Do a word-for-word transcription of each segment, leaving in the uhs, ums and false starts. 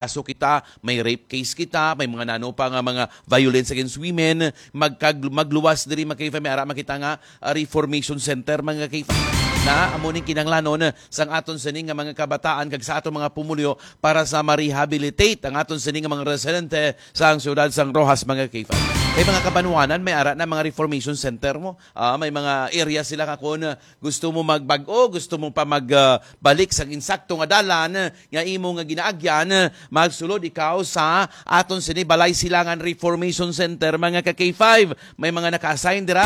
kaso kita, may rape case kita, may mga nano pa nga mga violence against women, magkag-, magluwas diri, mga K five, may ara makita nga, ah, reformation center, mga K five. Na amo ning kinahanglanon sang aton sini nga mga kabataan kag sa aton mga pumuluyo para sa ma-rehabilitate ang aton sini nga mga residente sa ang siyudad sang Roxas, mga K five. Kay mga kabanwanan, may ara na mga reformation center mo. Ah, may mga area sila nga kung gusto mo magbag-o, gusto mo pa mag, ah, balik sa insakto nga dalan nga imo nga ginaagyan, magsulod ikaw sa aton sini Balay Silangan Reformation Center, mga ka K five. May mga naka-assign dira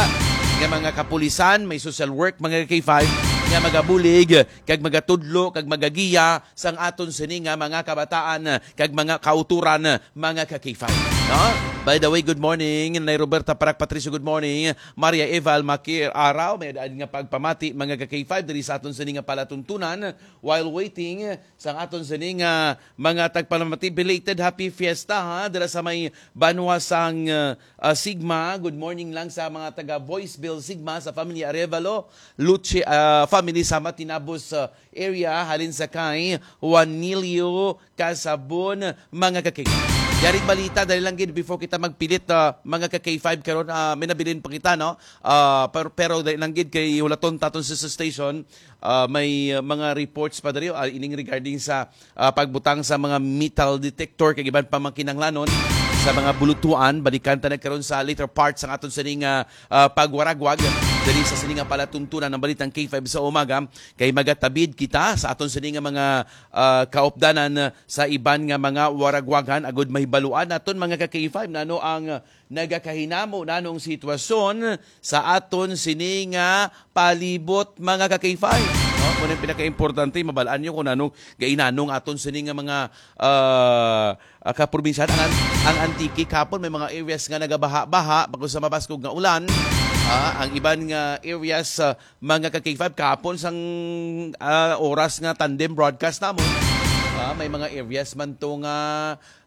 nga mga kapulisan, may social work, mga ka K five, nga magabulig kag magatudlo kag magagiya sang aton sini nga mga kabataan kag mga kauturan, mga ka K five, no? By the way, good morning, Nay Roberta Parak Patricio, good morning. Maria Eva Almaquer Araw, may daan nga pagpamati, mga ka K five, diri sa aton sini nga palatuntunan. While waiting sang aton sini nga mga tagpalamati, belated happy fiesta, ha, dira sa may banwa sang, uh, uh, Sigma. Good morning lang sa mga taga Voiceville Sigma, sa family Arevalo, Luce, uh, family sa Matinabos, uh, area, halin sa kay Juanilio Casabon, mga ka-K five. Yaring balita, dali lang gid before kita magpilit, ah, mga ka-K five karon, ah, may nabilin pa kita, no? Ah, pero, pero dali lang gid kay hulaton taton sa, sa station, ah, may, ah, mga reports pa diri, ah, ining regarding sa, ah, pagbutang sa mga metal detector kag iban pa mga kinahanglanon sa mga bulutuan. Balikan ta na karon sa later part sang aton sining, ah, ah, pagwaragwag diri sa sining nga palatuntunan ng Balitang K five sa umaga, kay magatabid kita sa aton sining nga mga ah, kaupdanan sa iban nga mga waragwagan agud mahibaluan naton, mga ka K five, nano ang nagakahinamo, nanong sitwasyon sa aton sini nga palibot, mga ka K five. No? Muna yung pinaka-importante, mabalaan nyo kung nanong gainanong aton sini nga mga, ah, ah, kaprobinsyahan. Ang, ang Antique kapon, may mga areas nga nagabaha-baha, pagod sa mabaskog nga ulan. Ah, ang iban nga areas, ah, mga ka K five, kahapon sang, ah, oras nga tandem broadcast namon, ah, may mga areas man to nga,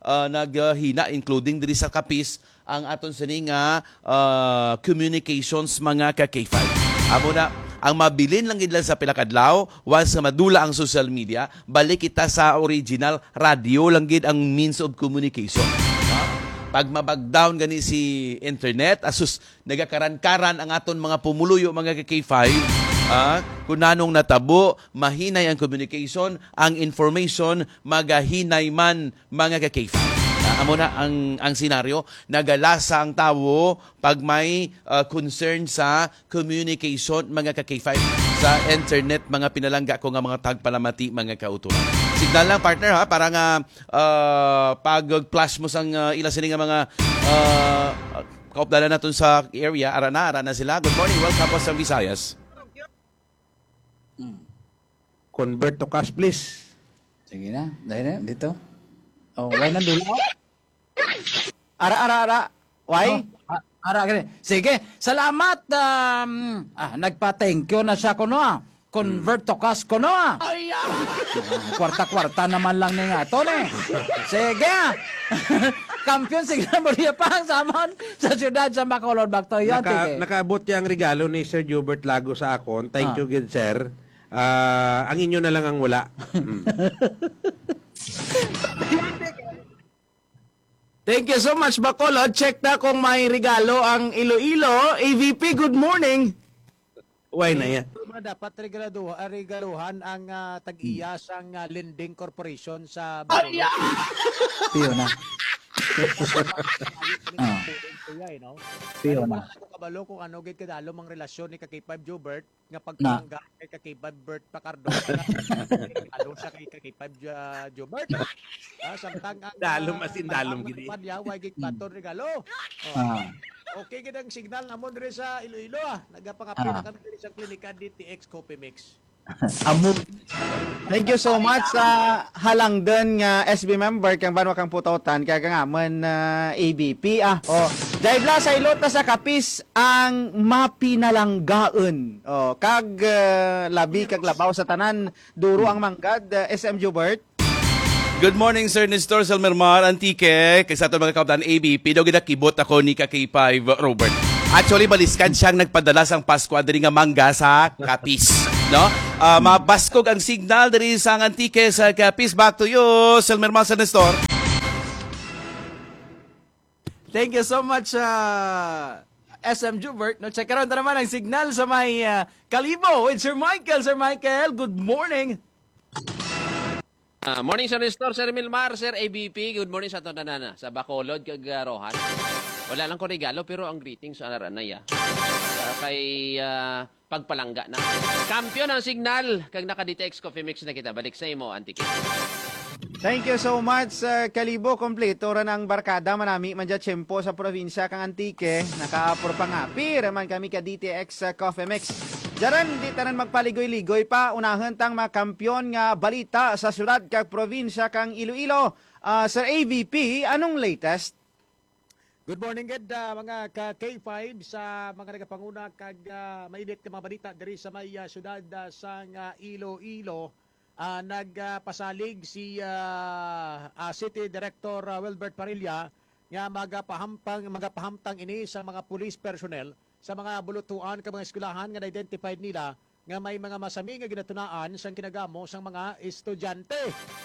ah, naghina, including diri sa Capiz, ang aton sini nga, ah, communications, mga ka K five. Amo na, ang mabilin lang gid lang sa pila ka adlaw, once nga madula ang social media, balik kita sa original, radio lang gid ang means of communication. No? Pag mabagdown gani si internet, asus, nagakaran-karan ang aton mga pumuluyo, mga ka K five, ah, kung nanong natabo, mahinay ang communication, ang information, magahinay man, mga ka K five. Ah, amo na ang, ang senaryo, nagalasa ang tawo pag may, ah, concern sa communication, mga ka K five, sa internet, mga pinalangga ko nga mga tagpalamati, mga kauturan. Signal lang, partner, ha, para nga, ah, pag-flash mo sang, ah, ila sini nga mga, ah, kaupdanan naton sa area, ara na, ara na sila. Good morning, welcome po sa Visayas. Mm. Convert to cash, please. Sige na, dahil na, dito. Oh, why na dula? Ara, ara, ara. Why? Oh, a-, ara, gani. Sige, salamat. Um, ah, nagpa-thank you na siya kuno, ah. Convert to cash kuno, ah. Ay, ah. Ah, kwarta-kwarta naman lang ni nga to, eh. Sige, ah. Kampiyon, sige na, Maria Pang, Samon, sa siyudad sa Bacolod, Bacolod. Naka-, sige. Nakaabot niya ang regalo ni Sir Gilbert Lago sa akon. Thank Ah. you, good sir. Ah, ang inyo na lang ang wala. Mm. Thank you so much, Bacolod. Check na kung may regalo ang Iloilo. A V P, good morning. Why na yan? Mga dapat regalo, ah, regaluhan ang, ah, tag-iya sang, ah, lending corporation sa Bacolod. Ay, ah! Piyo na. Ah. Kuya, eh, no? Piyo Pero na. Wala ko kabalo kung ano gid kadalom ang relasyon ni ka K five Jobert nga Na. pagpalangga kay ka K five Bert Pacardo. Alo siya kay ka K five Jo-, Jobert. Ah, samtang ang, Dalom ah, as in dalom ang gid, eh. Panya, way gid Mm. baton regalo. Oh. Ah. Okay gid ang signal namon diri sa Iloilo, ah. Nagapangapil Ah. na kami diri sa klinika D T X Coffee Mix. Amo. Thank you so much sa halangdon nga S B member kang Banwa kang Putautan, kag ang amon, ah, A B P, ah. Oh, Jaibla, sa ilot na sa Capiz ang mapinalanggaon. Oh, kag, ah, labi kag labaw sa tanan, duro ang manggad, ah, S M Jubert. Good morning, Sir Nestor Salmermar, Antique. Kay sa aton mga kabataan, A B P, daw ginakibot ako ni ka K five, Robert. Actually, baliskan siyang nagpadala sang Pasko diri nga mangga sa Capiz. No? Ah, mabaskog ang signal diri sa Antique sa Capiz. Back to you, Silmer Master Nestor. Thank you so much, uh, S M Jubert. No, check around naman ang signal sa may uh, Kalibo with Sir Michael. Sir Michael, good morning. Ah, morning, Sir Nestor, Sir Milmar, Sir A B P. Good morning sa tanan, ah, sa Bacolod kag, ah, Roxas. Wala lang ko regalo, pero ang greetings, ah, aranay, ah. Ah, kay, ah, pagpalangga na. Kampiyon ang signal, kag naka-D T X Coffee Mix na kita. Balik sa imo, Antique. Thank you so much, Sir Kalibo. Kompleto ra ang barkada, manami man dya tiyempo sa probinsya kang Antique. Nakaapor pa nga, pira man kami ka D T X sa Coffee Mix. Dyaran, di tanan magpaligoy-ligoy pa, unahon tang mga kampiyon nga balita sa syudad kag probinsya kang Iloilo. Ah, Sir A V P, anong latest? Good morning, gid, ah, mga ka K five, sa mga nagapanguna kag, ah, mainit nga mga balita diri sa may, ah, syudad, ah, sang, ah, Iloilo. Ah, nagpasalig si, ah, ah, City Director, ah, Wilbert Parilla nga magapahampang magapahamtang ini sa mga police personnel sa mga bulutuan kag mga eskwelahan nga na-identified nila nga may mga masami nga ginatunaan sang kinagamo sang mga estudyante.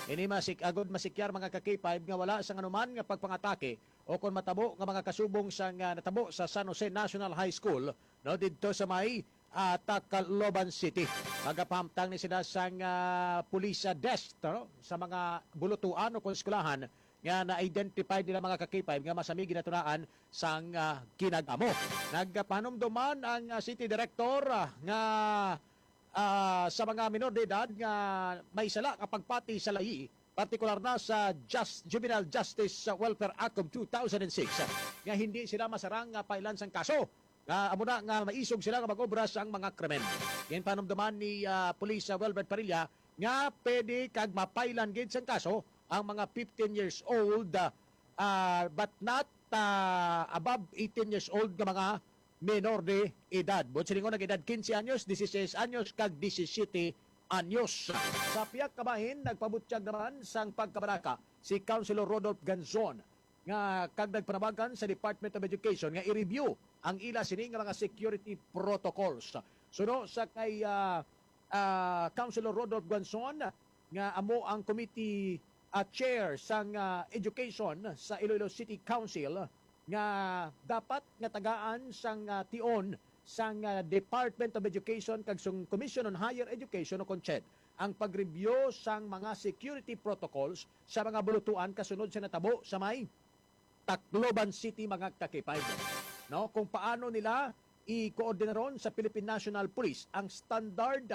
Ini masik agod masikyar, mga ka K five, nga wala sang anuman nga pagpangatake o kon matabo nga mga kasubong sang, ah, natabo sa San Jose National High School, no, didto sa may, ah, Tacloban City. Magapahamtang ni sila sang, ah, police, ah, desk, no, sa mga bulutuan o kon eskwelahan nga na-identify nila, mga ka K five, nga masami ginatunaan sang, ah, kinag-amo. Nagpahanumdom man ang, ah, city director, ah, nga, ah, sa mga minor de edad nga may sala nga pagpati sa layi, partikular na sa Just, Juvenile Justice Welfare Act of two thousand and six, nga hindi sila masarang nga pailan sang kaso. Nga amo na nga maisog sila nga mag-obra sang mga krimen. Ginpanumduman ni, ah, Police, ah, Wilbert Parilla nga pwede kag mapailan gid sang kaso ang mga fifteen years old, ah, ah, but not, ah, above eighteen years old nga mga menor de edad. Buot silingon, nag-edad quince anyos, dieciséis anyos, kag disisyete anyos. Sa pihak ka bahin, nagpabutyag naman sang pagkabalaka si Councilor Rodolph Ganzon nga kag nagpanawagan sa Department of Education nga i-review ang ila sini nga mga security protocols. Suno sa kay, ah, ah, Councilor Rodolph Ganzon, nga amo ang committee, ah, chair sang, ah, education sa Iloilo City Council, nga dapat nga tagaan sang, ah, tion sang, ah, Department of Education kag sang Commission on Higher Education o kon CHED ang pag-review sang mga security protocols sa mga bulutuan kasunod sa natabo sa may Tacloban City, mga ka K five. No, kung paano nila i-koordinaron sa Philippine National Police ang standard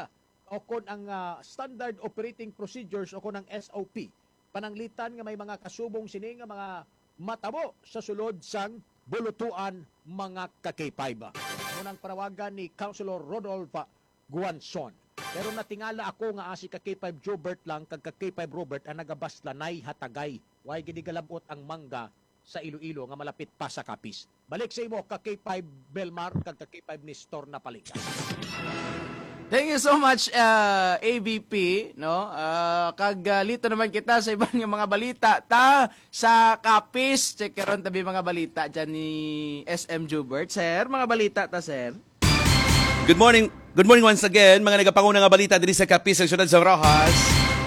o kon ang, ah, standard operating procedures o kon ang S O P, pananglitan nga may mga kasubong sini nga mga matabo sa sulod sang bulutuan, mga ka K five. Amo nang panawagan ni Councilor Rodolph Guanzon. Pero natingala ako nga asi ka K five Jobert lang kag ka K five Robert ang nagabaslanay hatagay. Way gid galabot ang mangga sa Iloilo nga malapit pa sa Capiz. Balik sa imo, ka K five Belmar kag ka K five Nestor Napaligas. Thank you so much, uh, A V P, no? Uh, kag, uh, lito naman kita sa iban nga mga balita. Ta sa Capiz, check karon tabi mga balita dyan ni S M Jubert. Sir, mga balita ta, sir. Good morning. Good morning once again, mga nagapanguna nga balita diri sa Capiz, sa siyudad sa Roxas.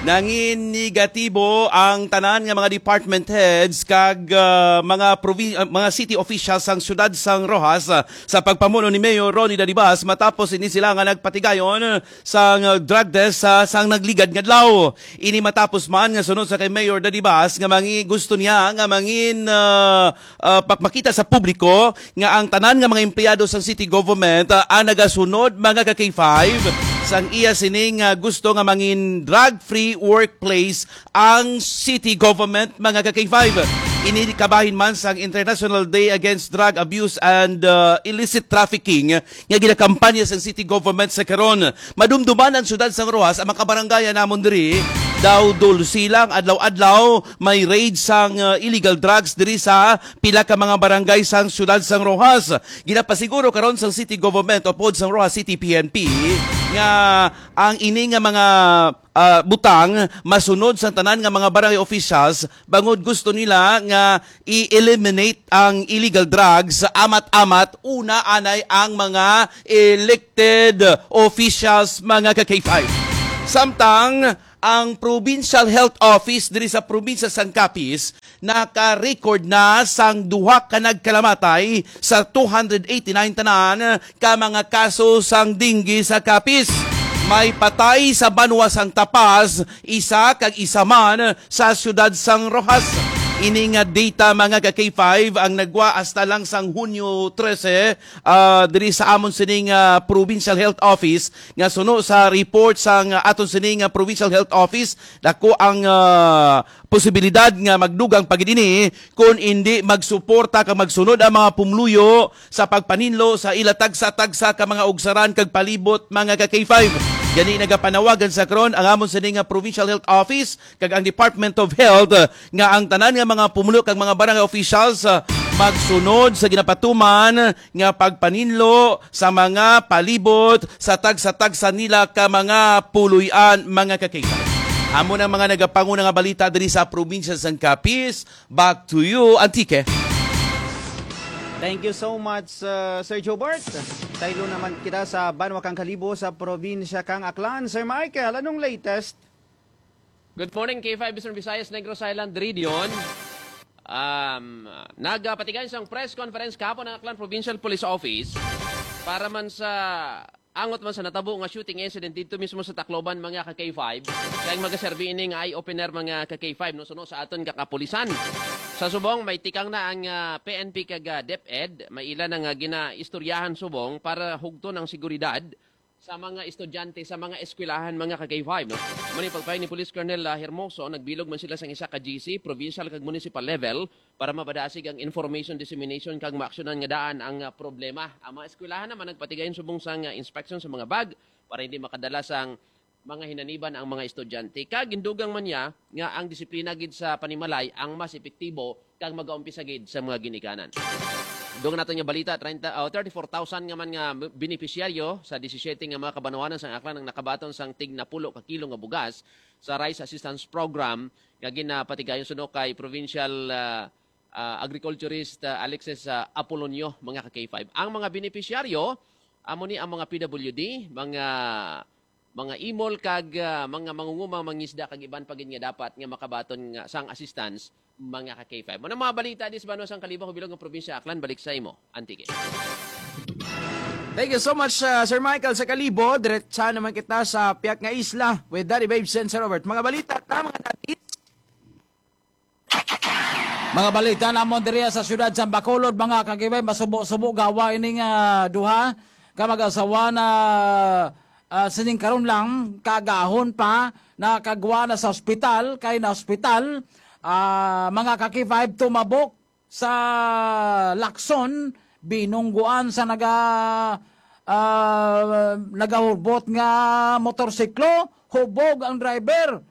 Nangin negatibo ang tanan nga mga department heads kag, ah, mga provi- ah, mga city officials sang siyudad sang Roxas, ah, sa pagpamuno ni Mayor Ronnie Dadibas, matapos ini sila nga nagpatigayon sang, ah, drug test sa sang nagligad nga adlaw. Ini matapos man nga sunod sa kay Mayor Dadibas nga mangi gusto niya nga mangin, ah, ah, pakmakita sa publiko nga ang tanan nga mga empleyado sa city government, ah, ang nagasunod, mga ka K five, sang iya sining, ah, gusto nga mangin drug-free workplace ang city government, mga ka K five. Ini kabahin man sang International Day Against Drug Abuse and, ah, Illicit Trafficking nga ginakampanya sang city government sa karon. Madumduman ang siyudad sang Roxas, ang mga kabarangayan namon diri, daw dulsi lang, adlaw-adlaw may raid sang, uh, illegal drugs diri sa pila ka mga barangay sang siyudad sang Roxas. Ginapasiguro karon sang city government upod sang Roxas City P N P nga ang ini nga mga ah, butang masunod sa tanan nga mga barangay officials, bangod gusto nila nga i-eliminate ang illegal drugs sa amat-amat, una anay ang mga elected officials, mga ka-K five. Samtang ang Provincial Health Office diri sa probinsya sang Capiz naka-record na sang duha ka nagkalamatay sa two hundred eighty-nine tanan ka mga kaso sang dengue sa Capiz. May patay sa banwa sang Tapaz, isa kag isa man sa siyudad sang Roxas. Ini nga data, mga ka-K five, ang nagwa hasta lang sang Hunyo trese, ah, diri sa amon sining, ah, Provincial Health Office, nga suno sa report sang aton sining, ah, Provincial Health Office, dako ang, ah, posibilidad nga magdugang pa gid ini kon indi magsuporta kag magsunod ang mga pumluyo sa pagpaninlo sa ila tagsa-tagsa ka mga ugsaran kag palibot, mga ka-K five. Gani, nagapanawagan sa karon ang amon sini nga Provincial Health Office kag ang Department of Health, ah, nga ang tanan nga mga pumuluyo kag mga barangay officials, ah, magsunod sa ginapatuman nga pagpaninlo sa mga palibot sa tagsa-tagsa nila ka mga puloy-an, mga ka-K five. Amo na ang mga nagapanguna nga balita diri sa probinsya sang Capiz. Back to you, Antique. Thank you so much, uh, Sir Jobert. Taylo naman kita sa banwa kang Kalibo sa probinsya kang Aklan. Sir Michael, anong latest? Good morning, K five Eastern Visayas, Negros Island Region. Um, nagpatigay sang press conference kahapon ang Aklan Provincial Police Office para man sa angot man sa natabo nga shooting incident dito mismo sa Tacloban, mga ka-K five. Kaya magaserbi ini nga eye-opener, mga ka-K five, no? Suno sa aton kakapulisan. Sa subong, may tikang na ang, ah, P N P kag, ah, DepEd. May ila na nga ginaistoryahan subong para hugton ang seguridad sa mga estudyante sa mga eskwelahan, mga ka-K five, no? Mani pagpay ni Police Colonel, ah, Hermoso, nagbilog man sila sang isa ka G C, provincial kag municipal level para mabadasig ang information dissemination kag maaksyonan nga daan ang, ah, problema. Ang mga eskwelahan naman nagpatigayon subong sang, ah, inspection sa mga bag para hindi makadala sang mga hinaniban ang mga estudyante. Kag gindugang man niya nga ang disiplina gid sa panimalay ang mas epektibo kag magaumpisa gid sa mga ginikanan. Dugang nato nga balita, treinta, oh, thirty-four thousand nga man nga benepisyaryo sa disisiete nga mga kabanwanan sang Aklan ang nakabaton sang tig napulo ka kilo nga bugas sa Rice Assistance Program nga ginapatigayon suno kay Provincial, ah, ah, Agriculturist, ah, Alexis, ah, Apolonio, mga ka-K five. Ang mga benepisyaryo, amo ni ang mga P W D, mga, mga imol kag, ah, mga mangungumang mangisda kag iban pa gid nga dapat nga makabaton nga sang assistance, mga ka-K five. Mao na mga balita dis banwa sang Kalibo, bilog nga probinsya Aklan. Balik sa imo, Antique. Thank you so much, uh, Sir Michael. Sa Kalibo, diretsa naman kita sa piyak nga isla with Daddy Babes and Sir Robert. Mga balita ta, mga daddies. Mga balita namon diri sa siyudad sa Bacolod, mga ka-K five, masubo-subo gawa ini nga duha ka mag-asawa na, ah, sining karon lang, kagahon pa, nakagwa na sa ospital, kay na ospital, ah, mga ka-K five, tumabok sa Lacson, binungguan sa naga, ah, nagahubot nga motorsiklo, hubog ang driver.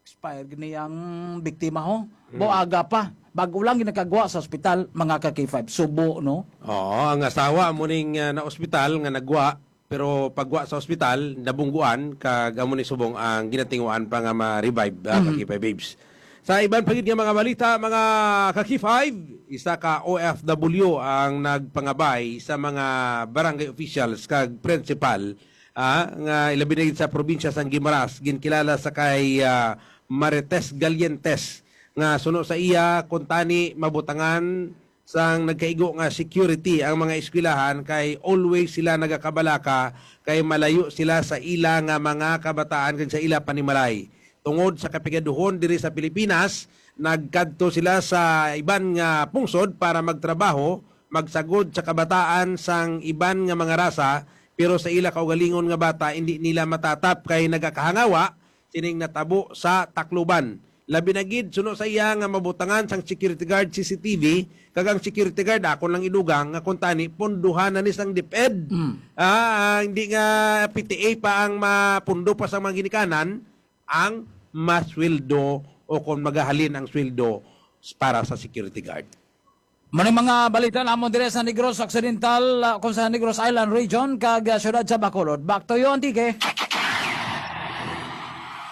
Expire gini ang biktima, ho. Buaga pa. Bago lang ginakagwa sa ospital, mga ka-K five. Subo, no? Oo, ang asawa mo ning, ah, na ospital nga nagwa, pero pagwa sa ospital, nabungguan, kag amo ni subong ang ginatinguan pa nga ma-revive, ah, ka-K five Babes. Sa iban pa gid nga mga balita, mga ka-K five, isa ka O F W ang nagpangabay sa mga barangay officials kag principal, ah, nga ilabi na gid sa probinsya sang Guimaras, ginkilala sa kay, ah, Marites Galientes, nga suno sa iya, kuntani mabutangan sang nagkaigo nga security ang mga eskwelahan kay always sila nagakabalaka kay malayo sila sa ila nga mga kabataan kag sa ila panimalay. Tungod sa kapigaduhon diri sa Pilipinas, nagkadto sila sa iban nga pungsod para magtrabaho, magsagod sa kabataan sang iban nga mga rasa, pero sa ila kaugalingon nga bata, indi nila matatap kay nagakahangawa sining natabo sa Tacloban. Labi na gid suno sa iya nga mabutangan sang security guard, C C T V, kag ang security guard, akon lang idugang nga kuntani punduhan na ni sang DepEd. Mm. Ah, hindi nga P T A pa ang mapundo pa sa mga ginikanan, ang masweldo o kung magahalin ang sweldo para sa security guard. Mao ni mga balita namon dire sa Negros Occidental, ah, kung sa Negros Island Region, kag, ah, siyudad sa Bacolod. Back to you, Antique.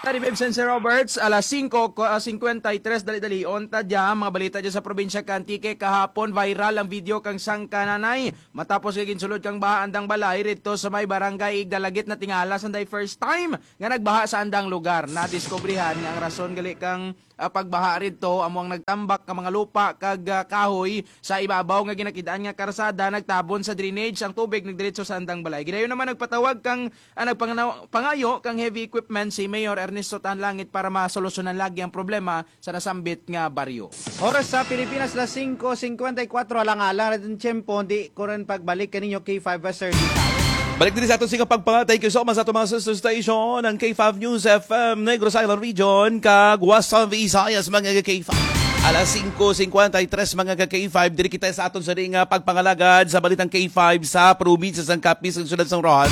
Tari Vincent Roberts, alas singko ko, ah, singkwenta y tres, dali-dali. Unta dya, mga balita dya sa probinsya kang Antique. Kahapon, viral ang video kang sang kananay. Matapos nga ginsulod kang baha andang balay, rito sa may barangay Igdalagit na tingala, sanday first time nga nagbaha sa andang lugar. Nadiskubrihan nga ang rason gali kang, ah, pagbaha rito amo ang nagtambak ka mga lupa kag, ah, kahoy sa ibabaw nga ginakidaan nga karsada, nagtabon sa drainage ang tubig, nagdiretso sa andang balay. Gidayon naman nagpatawag kang, ah, nagpanganaw-, pangayo kang heavy equipment si Mayor Ernesto Tan Langit para masolusyonan lagi ang problema sa nasambit nga baryo. Oras sa Pilipinas, las singko singkwenta y kuwatro, alang-alang na din tiyempo, di ko rin pagbalik kaninyo, K five Western Visayas. Balik diri sa aton sing pagpanga. Thank you so much sa aton mga sister station, ang K five News F M, Negros Island Region, kag Western Visayas, mga K five. Alas singko singkwenta y tres, mga ka K five, diri kita sa aton sa nga pagpangalagad sa balitang K five sa probinsya sang Capiz, sa siyudad sang Roxas.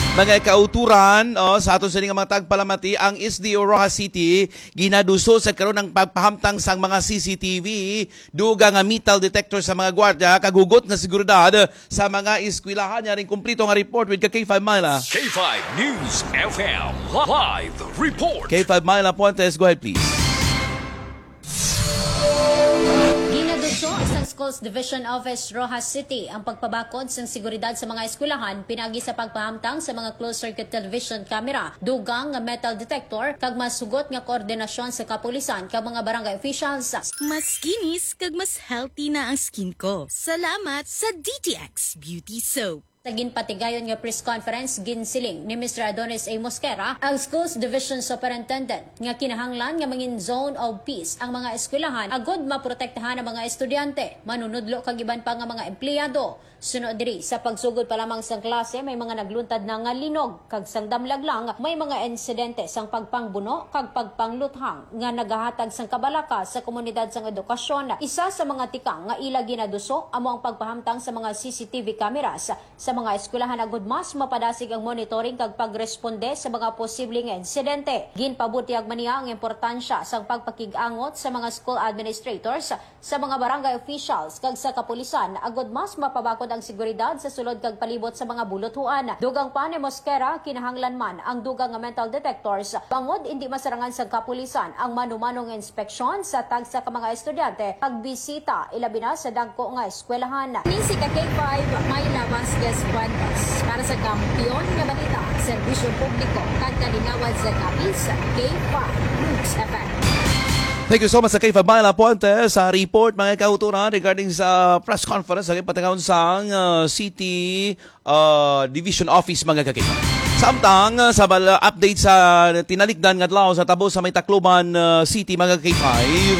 Mga kauturan, oh, sa aton sa nga mga tagpalamati, ang S D O Roxas City ginaduso sa karon ang pagpahamtang sang mga C C T V, dugang nga metal detector sa mga gwardiya, kag hugot nga seguridad sa mga eskwelahan. Yaring kumplito nga report with ka K five Myla. K five News F M live report. K five Myla Puentes, go ahead please. Ginaduso sa Schools Division Office, Roxas City, ang pagpabakod sang seguridad sa mga eskwelahan pinagi sa pagpahamtang sa mga closed-circuit television camera, dugang nga metal detector, kag mas hugot nga koordinasyon sa kapulisan kag mga barangay officials. Mas kinis kag mas healthy na ang skin ko. Salamat sa D T X Beauty Soap. Sa ginpatigayon nga press conference, ginsiling ni Mister Adonis A. Mosquera, ang Schools Division Superintendent, nga kinahanglan nga mangin zone of peace ang mga eskwelahan agud maprotektahan ang mga estudyante, manunudlo kag iban pa nga mga empleyado. Suno diri, sa pagsugod pa lamang sang klase, may mga nagluntad na nga linog, kag sang damlag lang, may mga insidente sang pagpangbuno kag pagpangluthang nga nagahatag sang kabalaka sa komunidad sang edukasyon. Isa sa mga tikang nga ila ginaduso amo ang pagpahamtang sa mga C C T V cameras sa mga eskwelahan agud mas mapadasig ang monitoring kag pagresponde sa mga posible nga insidente. Ginpabutyag man niya ang importansya sang pagpakig-angot sa mga school administrators sa mga barangay officials kag sa kapulisan agud mas mapabakod ang seguridad sa sulod kag palibot sa mga buluthuan. Dugang pa ni Mosquera, kinahanglan man ang dugang nga metal detectors bangod indi masarangan sa kapulisan ang manumanong inspeksyon sa tagsa ka mga estudyante kag bisita, ilabi na sa dagko nga eskwelahan. Ni si ka K five, Myla Vasquez Fuentes para sa Kampiyon nga Balita, Serbisyo Publiko kag Kalingawan sa Capiz, K five News F M. Thank you so much sa K five Myla Puentes sa report, mga kauturan, regarding sa press conference sa ginpatingawon sang, ah, City, ah, Division Office, mga kakita. Samtang, ah, sa bal-, update sa tinalikdan nga adlaw sa tabo sa may Tacloban, ah, City, mga K five,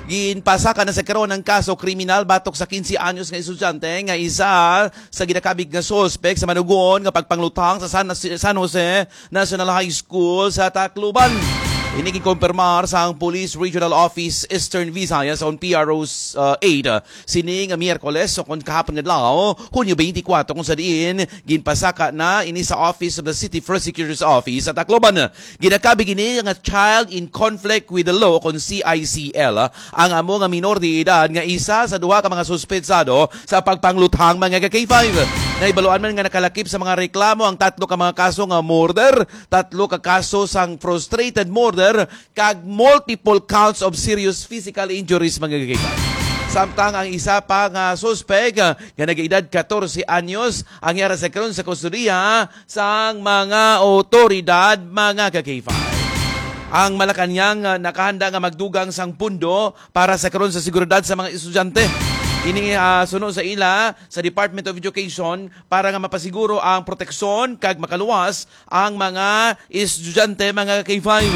ginpasaka na sa karon ang kaso kriminal batok sa quince anyos nga estudyante nga isa sa ginakabig nga suspek sa manugon nga pagpangluthang sa San, San Jose National High School sa Tacloban. Ini gikompirmar sang Police Regional Office Eastern Visayas on P R O eight, uh, sining Miyerkules o kon kahapon nga adlaw, Hunyo twenty-four, kung sa diin ginpasaka na ini sa Office of the City Prosecutor's Office sa Tacloban. Ginakabig ini nga child in conflict with the law o kon C I C L, ang amo nga minor de edad nga isa sa duha ka mga suspetsado sa pagpangluthang, mga ka K five. Nahibaluan man nga nakalakip sa mga reklamo ang tatlo ka mga kaso nga murder, tatlo ka kaso sang frustrated murder, kag multiple counts of serious physical injuries, mga ka K five. Samtang ang isa pa nga suspek, ah, nga nag-edad katorse anyos, ang yara sa karon sa kustodiya sang mga otoridad, mga ka K five. Ang Malacañang, ah, nakahanda nga magdugang sang pundo para sa karon sa seguridad sa mga estudyante. Ini, ah, suno sa ila sa Department of Education para nga mapasiguro ang proteksyon kag makaluwas ang mga estudyante, mga K five.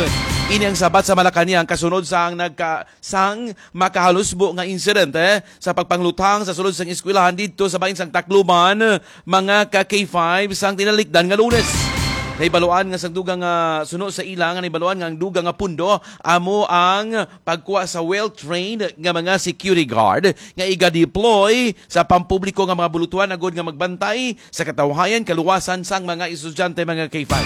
Ini ang sabat sa Malacañang kasunod sang nagka-, sang makahalusbo nga insidente sa pagpangluthang sa sulod sang eskwelahan didto sa bahin sang Tacloban, mga ka K five, sang tinalikdan nga Lunes. Nahibaluan nga sang dugang nga suno sa ila nga nahibaluan nga ang dugang nga pundo amo ang pagkuha sa well-trained nga mga security guard nga iga-deploy sa pampubliko nga mga bulutuhan agud nga magbantay sa katawhayan, kaluwasan sang mga estudyante, mga K five.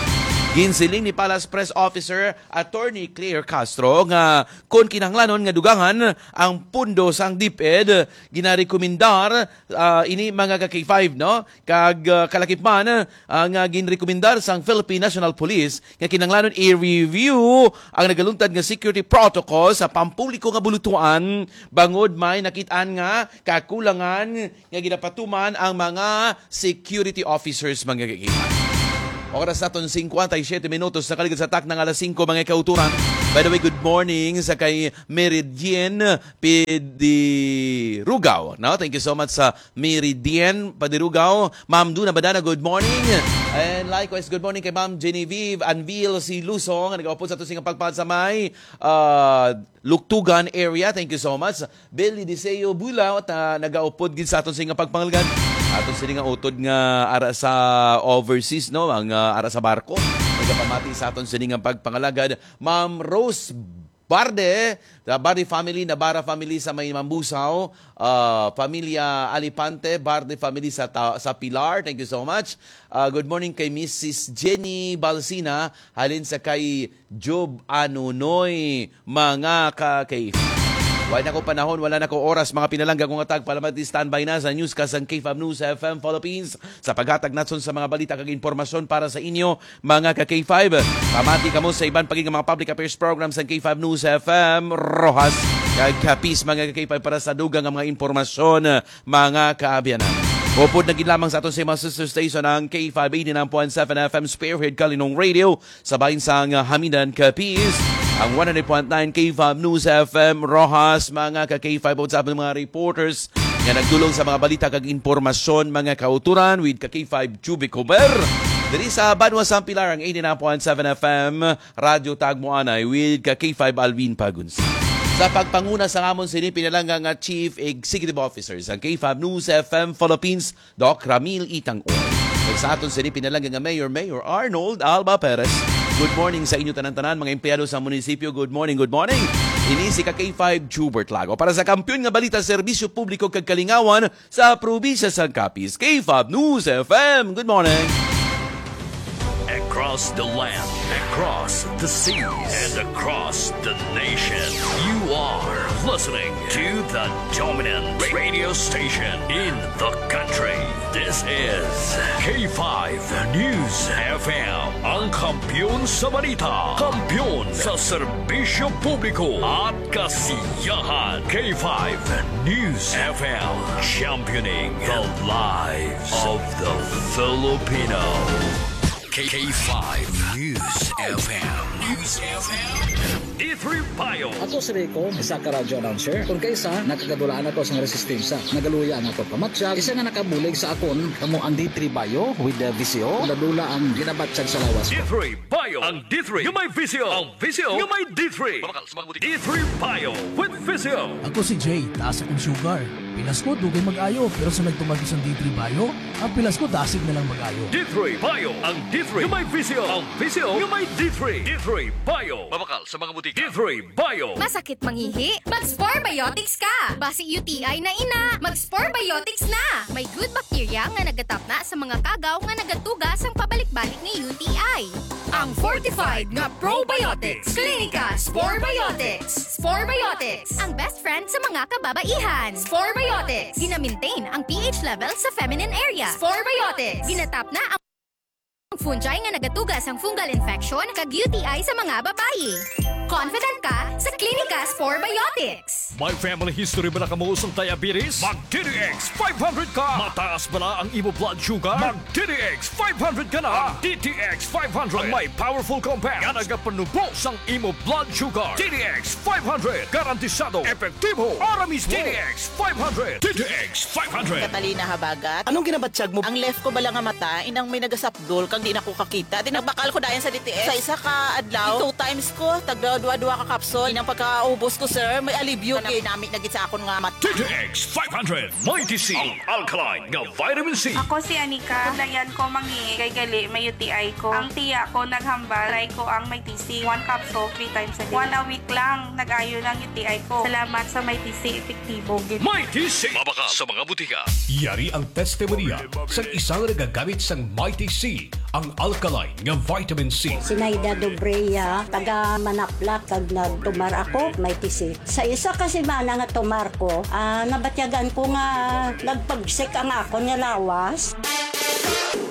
Ginsiling ni Palace Press Officer Attorney Claire Castro nga kon kinahanglanon nga dugangan ang pundo sang DepEd, ginarekomendar, ah, ini mga ka K five, no? Kag, ah, kalakip man, ah, nga ginrekomendar sang Philippine National Police nga kinahanglanon i-review ang nagaluntad nga security protocol sa pampubliko nga bulutuan bangod may nakit-an nga kakulangan nga ginapatuman ang mga security officers, mga kaibigan. Oras naton, singkwenta y siyete minutos, nakaligad sa takna nga alas singko, mga kauturan. By the way, good morning sa kay Meridian Pidirugaw, no? Thank you so much sa Meridian Padirugaw. Ma'am Duna Badana, good morning. And likewise, good morning kay Ma'am Genevieve Anvil C. Lusong, nga nag-upod sa aton sing pagpad sa may, ah, Luktugan area. Thank you so much. Billy Deseo Bula, ta, nagaupod gid sa aton sini nga pagpangalagad. Aton sini nga utod nga ara sa overseas, no? Ang, ah, ara sa barko. Nagapamati sa aton sini nga pagpangalagad. Ma'am Rose Barde, the Barde family, Navarra family sa may Mambusaw, ah, familia Alipante, Barde family sa ta-, sa Pilar. Thank you so much. Ah, good morning kay Missus Jenny Balsina, halin sa kay Job Anunoy, mga ka-K five. Wala na ko panahon, wala na ko oras, mga pinalangga kong atag, palamati, standby na sa newscast sang K five News F M Philippines sa paghatag natson sa mga balita kag impormasyon para sa inyo, mga ka-K five. Pamati kamo sa iban pa gid nga mga public affairs program sang K five News F M, Roxas kag Capiz, mga ka-K five, para sa dugang nga mga impormasyon, mga kaabyanan. Upod na gid lamang sa aton sa mga sister station ang K five eighty-nine point seven F M Spearhead Kalinong Radio, sa bahin sang Hamidan, Capiz, ang one hundred point nine K five News F M Roxas, mga ka-K five, sa mga reporters nga nagdulong sa mga balita kag impormasyon, mga kauturan, with ka-K five Juby Comer. Diri sa Banwa sang Pilar, ang eighty-nine point seven F M Radyo Tagmoanay, with ka-K five Alvin Pagunsa. Sa pagpanguna sa amon sini pinalangga nga Chief Executive Officer sa K five News F M Philippines, Doc Ramil Itang Uy. Kag sa aton sini pinalangga nga Mayor, Mayor Arnold Alba Perez. Good morning sa inyo tanan-tanan, mga empleyado sa munisipyo. Good morning, good morning. Ini si ka K five Jubert Lago para sa kampiyon nga balita, serbisyo publiko kag kalingawan sa probinsya sang Capiz. K five News F M. Good morning. Across the land, across the seas, and across the nation, you are listening to the dominant radio station in the country. This is K five News F M, ang kampiyon sa balita, kampiyon sa serbisyo publiko at kasiyahan. K five News F M, championing the lives of the Filipino. K five News F M. News F M. D three Bio. Ako si Rico, isa ka radio announcer. Kung kaisa, nakagadulaan ako sa resistensya. Nagaluya ang ako pamatyag, isa nga nakabulig sa akon, kamo ang D three Bio with the V C O. Dula-dula ang ginabatyag sa lawas ko. D three Bio. Ang D three nga may V C O. Ang V C O nga may D three. Mabakal sa mga butika. D three Bio with V C O. Ako si Jay, taas akong sugar. Pilas ko, dugay mag-ayo, pero sa nagtumag isang D three Bio, ang pilas ko dasig na lang mag-ayo. D three Bio, ang D three nga may V C O. Ang V C O nga may D three. D three Bio. Mabakal sa mga butika. D three Bio. Masakit mangihi? Mag-Spore Biotics ka! Basi U T I na ina, mag-Spore Biotics na! May good bacteria nga nagatapna sa mga kagaw nga nagatuga sang pabalik-balik nga U T I. Ang fortified nga probiotics. Klinika Spore Biotics. Spore Biotics, ang best friend sa mga kababaihan. Spore Biotics. Gina-maintain ang P H level sa feminine area. Spore Biotics. Ginatapna ang fungi nga nagatuga sang fungal infection kag U T I sa mga babayi. Confident ka sa Klinika Spore Biotics. May family history ba na kamo sang diabetes? Mag D T X five hundred ka! Mataas bala ang imo blood sugar? Mag D T X five hundred ka na! Ang D T X five hundred ang may powerful compound nga nagapanubo sang imo blood sugar. D T X five hundred, garantisado, epektibo, para mismo. D T X five hundred. D T X five hundred. Catalina Habagat. Anong ginabatyag mo? Ang left ko bala nga mata, inang may nagasapdol, kag di na ko kakita. Di nagbakal ko dayon sa D T X. Sa isa ka adlaw, two times ko, tagda dua-dua ka kapsul. Inang pagkaubos ko, sir, may alibyo. Kanami-nami na gid sa akon nga mata. D T X five hundred, Mighty C, ang alkaline nga vitamin C. Ako si Anika. Dayan ko mangihi kay gali may U T I ko. Ang tiya ko naghambal, try ko ang Mighty C. One capsule, three times a day. One a week lang, nag-ayo na ang U T I ko. Salamat sa Mighty C, epektibo gid. Mighty C, mabakal sa mga butika. Yari ang testimonya sang isang nagagamit sang Mighty C ang alkaline nga vitamin C. Sinaida Dobrea, taga Manaplat, kag nagtumar ako, may tisi. Sa isa ka semana nga tumar ko, ah, nabatyagan ko nga nagpagsik ang akon nga lawas.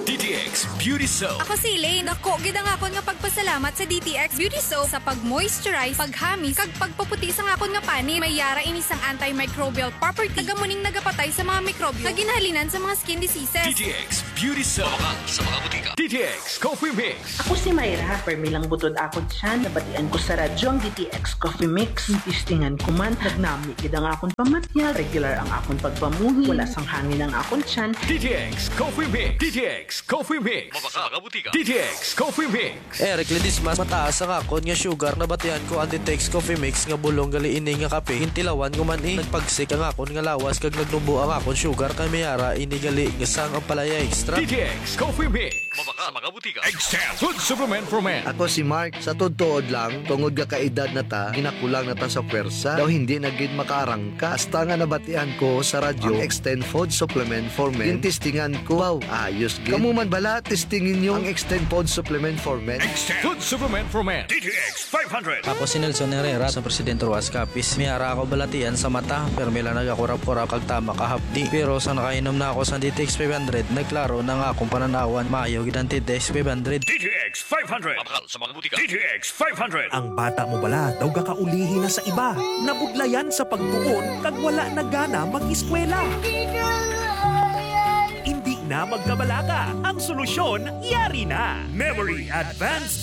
D T X Beauty Soap. Ako si Elaine. Dako gid ang akon nga pagpasalamat sa D T X Beauty Soap sa pag-moisturize, paghamis, kag pagpaputi sang akon nga panit. May yara ini sang antimicrobial property. Taga mo ning nagapatay sa mga mikrobyo nga ginhalinan sa mga skin diseases. D T X Beauty Soap. Mabakal sa mga butika. D T X Coffee Mix. Ako si Myra, permi lang butod akon tiyan. Nabatian ko sa radyo ang D T X Coffee Mix. Testingan ko man, nagnami gid ang akon pamatyag, regular ang akon pagpamuhi, wala sang hangin ang akon tiyan. D T X Coffee Mix. D T X Coffee Mix. Mabakal sa mga butika. D T X Coffee Mix. Eric Ledesma, mataas ang akon nga sugar, nabatian ko ang D T X Coffee Mix nga bulong gali ini nga kape. Gintilawan ko man, eh, nagpagsik ang akon nga lawas kag nagnubo ang akon sugar, kay may ara ini gali nga sang ampalaya extract. D T X Coffee Mix. Mabakal sa mga butika. Extend Food Supplement for Men. Ako si Mark. Sa tuod-tuod lang, tungod nga kaedad na ta, ginakulang na ta sa pwersa. Daw hindi na gid makaarangka. Hasta nga nabatian ko sa radyo ang Extend Food Supplement for Men. Gintistingan ko. Wow, ayos gid. Kamo man bala, testingin nyo ang Extend Food Supplement for Men. Extend Food Supplement for Men. D T X five hundred. Ako si Nelson Herrera, sa Presidente Roas Capiz. May ara ako balatian sa mata, pero may lang nagakurap-kurap kag tama kahapdi. Pero sa nakainom na ako sa D T X five hundred, nagklaro na nga akong pananawan. Maayo gid ang D T X five hundred. D T X five hundred. Mabakal sa mga butika. D T X five hundred. Ang bata mo bala daw gakaulihi na sa iba, nabudlayan sa pagtuon kag wala na gana mag-eskwela? Hindi na magkabalaka. Ang solusyon, yari na. Memory Advanced